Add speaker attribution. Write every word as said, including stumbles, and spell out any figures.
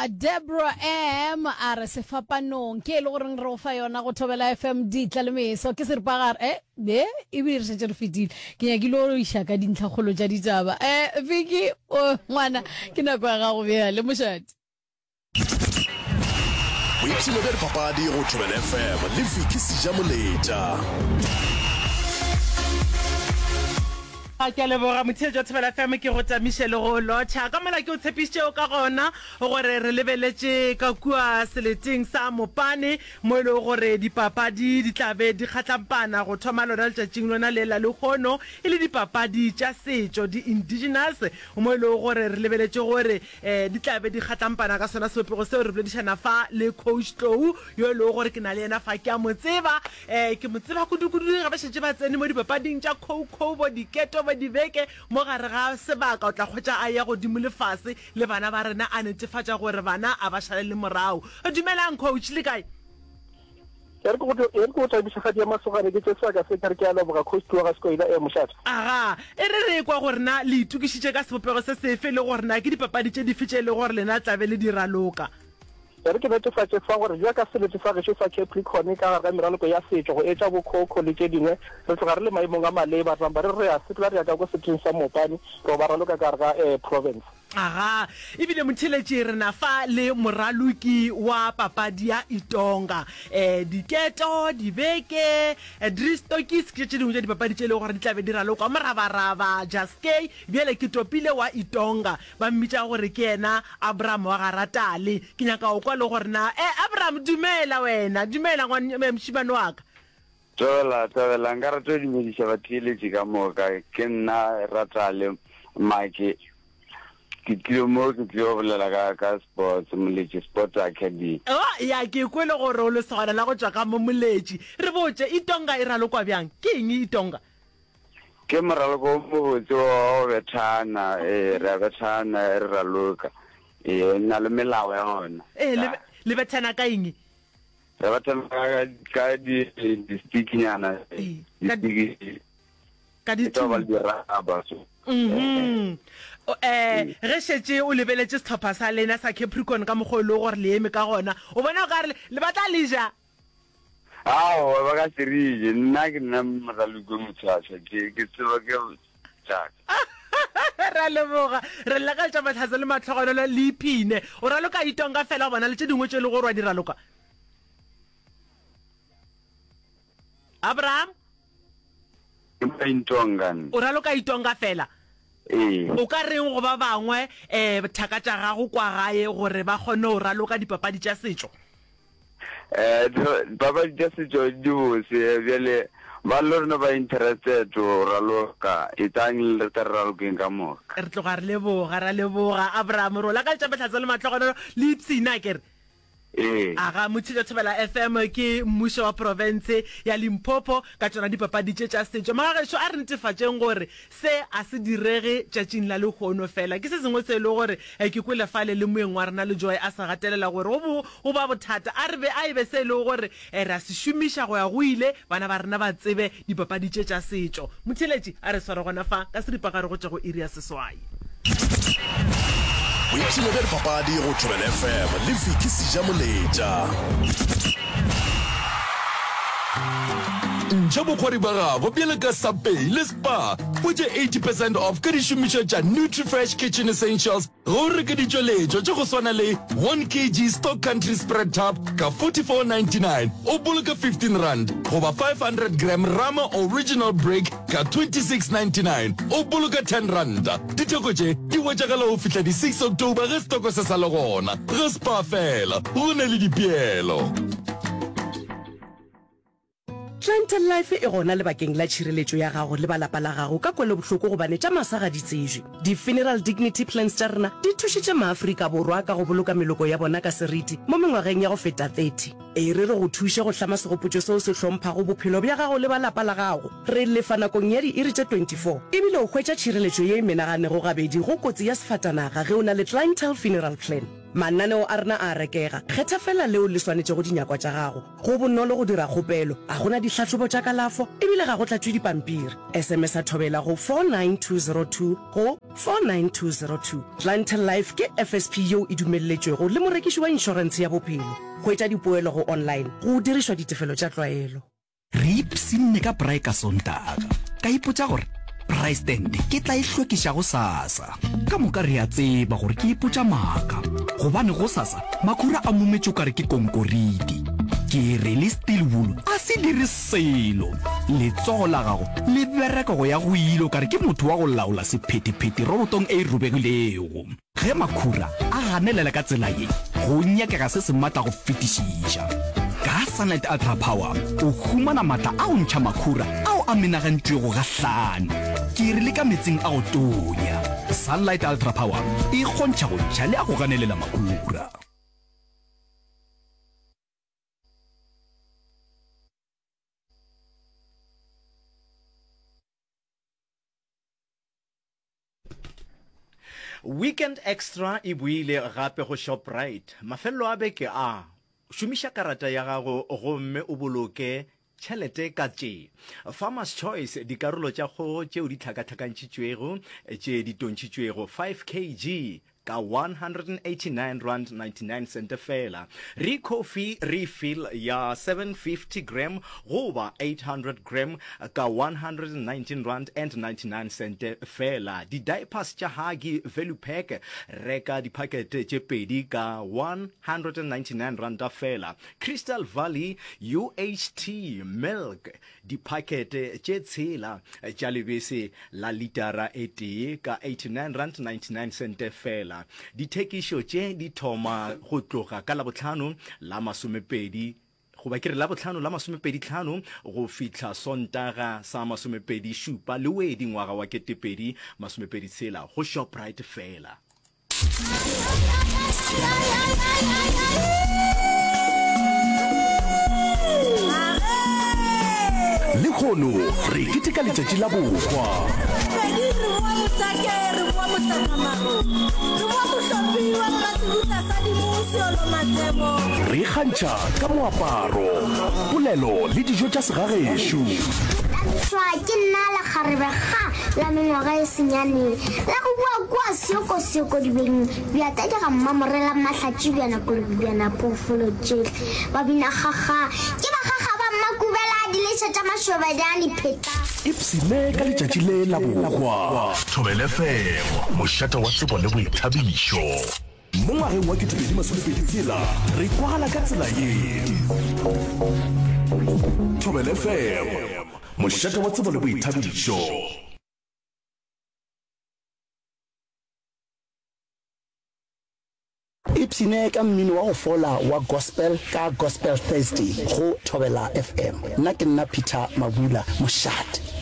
Speaker 1: Deborah M a re sefapanong ke e le goreng re go fa yona go Thobela F M ditla le meso ke seripagare eh be ebile re šetše re fetile. Ke nyakile go iša ka dintlhakgolo tša ditaba. Eh Vicky o ngwana ke nako ya gago bjale mošate.
Speaker 2: Boipshino bja dipapadi go Thobela F M le Vicky Sejamoletša.
Speaker 3: Ke a leboga motheetši wa Thobela F M, ke go tamiše le go lotšha ka mola ke o tshepišitšego ka gona gore re lebeletše ka kua seleteng sa Mopane mo e lego gore dipapadi di tla be di kgatlampana go thoma lona letšatšing lona le la lehono e le dipapadi tša setšo di-indigenous mo e lego gore re lebeletše gore um di tla be di kgatlampana ka sona sebopego seo. Re boledišana fa le Coach Tlou yo e lego gore ke na le yena fa, ke a mo tseba, um ke mo tseba kudu-kudu ge ba šetše ba tsene mo dipapading tša kho-kho bo diketo bo dibeke mo gare ga sebaka. O tla kgwetša a ya godimo le fase le bana ba rena a netefatša gore bana a ba šale le morago. Dumelang coach, le kae?
Speaker 4: E re ke go thabiša gadi ya masogane ke tše sebaka se ke re ke a leboga Coach Tloga Sekoila e mošate.
Speaker 3: Aga, e re re kwa gore na le itokišitše ka sebopego se sefe le gore na ke dipapadi tše dife tše e lego gore lena tlabe le di raloka.
Speaker 4: E re ke netefatše fa gore bjaka selete sa gešo sa Capricorn ka gare ga meraloko ya setšo go etša bokhokho le tše dingwe re tloga re le maemong a maleba re namba re re a sepela re ya ka ko seleteng sa Mopane re ba raloka ka gare ga um province.
Speaker 3: Aga, ebile motheletši re na fa le moraloki wa papadi ya Itonga. Um diketo, dibeke, Driestokkies ke tše dingwe tša dipapadi tše e lego gore di tla be di ralokwa. Morabaraba, Jaskei, bjale ke topile wa Itonga. Ba mmitša gore ke yena Abraham wa Garatale. Ke nyaka go kwa le gore na, eh Abraham dumela wena, dumela ngwane mošemane wa ka.
Speaker 5: Tobela, tobela, nka rata go dumediša batheeletši ka moka. Ke nna Ratale Make. Ke tlile mo ke tlile go bolela ka ka sports, Moletši Sports Academy.
Speaker 3: Oh, ya ke kwele gore o lesogana la go tšwa ka mo Moletši. Re botše, Itonga e ralokwa bjang? Ke eng Itonga?
Speaker 5: Ke moraloko o mobotse wa go bethana, ee, re a bethana re raloka. Ee, na le melao ya gona.
Speaker 3: Ee, le le bethana ka eng?
Speaker 5: Re bethana ka ka di di-stick-nyana,
Speaker 3: Ee, ka
Speaker 5: di-stick
Speaker 3: ka
Speaker 5: e tlo ba le
Speaker 3: dithunya.
Speaker 5: di-rubber so.
Speaker 3: Mhm. O, eh, ge šetše o lebeletše sehlopha sa lena sa Capricorn ka mokgwa o e lego gore le eme ka gona, o bona o ka re le ba tla le ja?
Speaker 5: Aowa, ba ka se re je. Nna ke nna moraloki o motshwaswa, ke ke tseba ke tšaka.
Speaker 3: Re a leboga. Re lakaletša mahlatse le mahlogonolo le iphine. O raloka Itonga fela goba na le tše dingwe tše e lego gore wa di raloka? Abraham?
Speaker 5: Ke mo Itonga nna.
Speaker 3: O raloka Itonga fela?
Speaker 5: Ee.
Speaker 3: O ka reng go ba bangwe um thaka tša gago kwa gae gore ba kgone go raloka dipapadi tša setšo?
Speaker 5: Eh, dipapadi tša setšo di bose, bjale ba le rena ba interested go raloka, etlang le re tle re ralokeng ka moka.
Speaker 3: Re tloga re leboga, ra leboga Abraham, re o lakaletša mahlatse le mahlogonolo le ipshine akere?
Speaker 5: Ee.
Speaker 3: Aga Motšhitša Thobela F M ke mmušo wa profense ya Limpopo ka tšona dipapadi tše tša setšo. Magagešo a re netefatšeng gore se a se direge tšatšing la lehono fela. Ke se sengwe se e le gore ke kwele fale le moeng wa rena le Joy a se gatelela gore go bo go ba bothata. A re be a e be se e lego gore re a se šomiša go ya go ile, bana ba rena ba tsebe dipapadi tše tša setšo. Motheeletši a re sware gona fa ka seripagare go tšwa go iri ya seswai.
Speaker 2: Boipshino bja dipapadi go Thobela F M le Vicky Sejamoletša.
Speaker 6: Ntšha bokgwari ba gago bjalo ka Subway le Spar o tše eighty percent off ka dišomišwa tša Nutrifresh Kitchen Essentials ge o reka ditšweletšwa tša go swana le one K G Stock Country Spread Tub ka forty-four ninety-nine o boloka fifteen rand goba five hundred gram Rama Original Brick ka twenty-six ninety-nine o boloka ten rand. Ditheko tše di hwetšagala go fihla di six October ge setoko se sa le gona. Ge Spar fela, go na le dipeelo.
Speaker 7: Clientele Life e gona lebakeng la tšhireletšo ya gago le ba lapa la gago ka kwelobohloko gobane tša masa ga di tsebje. Di-funeral dignity plans tša rena di thušitše maAfrika Borwa ka go boloka meloko ya bona ka seriti mo mengwageng ya go feta thirty. E re re go thuše go hlama segopotšo seo se hlomphago bophelo bja gago le ba lapa la gago. Re lefa nakong ya diiri tše twenty-four ebile o hwetša tšhireletšo ye e menaganego gabedi go kotsi ya sefatanaga ge o na le Clientele Funeral Plan. Mananeo a rena a a rekega, kgetha feela leo le swanetšego dinyakwa tša gago. Go bonolo go dira kgopelo, ga go na dihlahlobo tša kalafo e bile ga go tlatšwe dipampiri. S M S-a Thobela go four nine two zero two go four nine two zero two. Clientele Life ke F S P yeo e dumelletšwego le morekiši wa inšorentshe ya bophelo. Hwetša dipoelo go online go dirišwa ditefelo tša tlwaelo.
Speaker 8: Re ipshinne ka braai ka Sontaga. Ka ipotša gore braai stand ke tla e hlwekiša gosasa. Ka moka re a tseba gore ke ipotša maaka, gobane gosasa makhura a mometše o kare ke konkoriti. Ke re le steel wool a se dire selo. Letsogo la gago le bereka go ya go ile o kare ke motho wa go laola sephethephethe robotong e robegilego. Ge makhura a ganelela ka tsela ye, go nyakega se se matla go fetišiša. Ka Sunlight Ultra Power o humana matla a go ntšha makhura ao a menagantšwego ga hlano, ke re le ka meetseng a go tonya. Sunlight Ultra Power e kgontšha go ntšha le a go ganelela makhura.
Speaker 9: Weekend Extra e boile gape go Shoprite mafelelo a beke a. Šomiša karata ya gago gomme o boloke tšhelete ka tše Farmer's Choice dikarolo tša kgogo tšeo di hlakahlakantšhitšwego tše di tontšhitšwego five kg ka one hundred and eighty nine rand ninety nine sente feela. Re-coffee refill ya seven fifty gram goba eight hundred gram ka one hundred and nineteen rand and ninety nine sente feela. Di-diapers tša Huggy Value Pack, reka diphakete tše pedi ka one hundred and ninety nine ranta feela. Crystal Valley U H T Milk, diphakete tše tshela tša lebese la litara e tee ka eighty nine rand ninety nine sente feela. Dithekišo tše di thoma go tloga ka Labohlano la masomepedi goba ke re Labohlano la masomepedi hlano go fihla Sontaga sa masomepedi šupa Lewedi ngwaga wa ketepedi masomepedi tshela go Shoprite feela.
Speaker 2: Lehono re keteka letšatši la bohwa.
Speaker 10: Pedi re boa Mohlake, re boa Mohlakamaro, re boa Mohlopi wa Mmasebutla sa Dimo Seolo Matlebo.
Speaker 2: Re ikgantšha ka moaparo, polelo le dijo tša segagešo.
Speaker 11: Thabišwa ke nna lekgarebe ga la mengwaga e senyane la go bua kua seokosoko dibeng bja tadi ga mmamorela mahlatši bjana kolobi bjana phoofolo tšehle ba bina kgakga ke bakgakga ba mmakubela diletša tša mašobadi a dipheta.
Speaker 2: Ipshine ka letšatši le la bohwa.
Speaker 12: Thobela F M, mošate wa tsebo le boithabišo.
Speaker 2: Mo ngwageng wa ketepedi masomepedi tshela re kwagala ka tsela ye. Thobela F M, mošate wa tsebo le boithabišo.
Speaker 13: Ipshine ka mmino wa go fola wa gospel ka Gospel Thursday go Thobela F M. Nna ke nna Peter Mabula, mošate.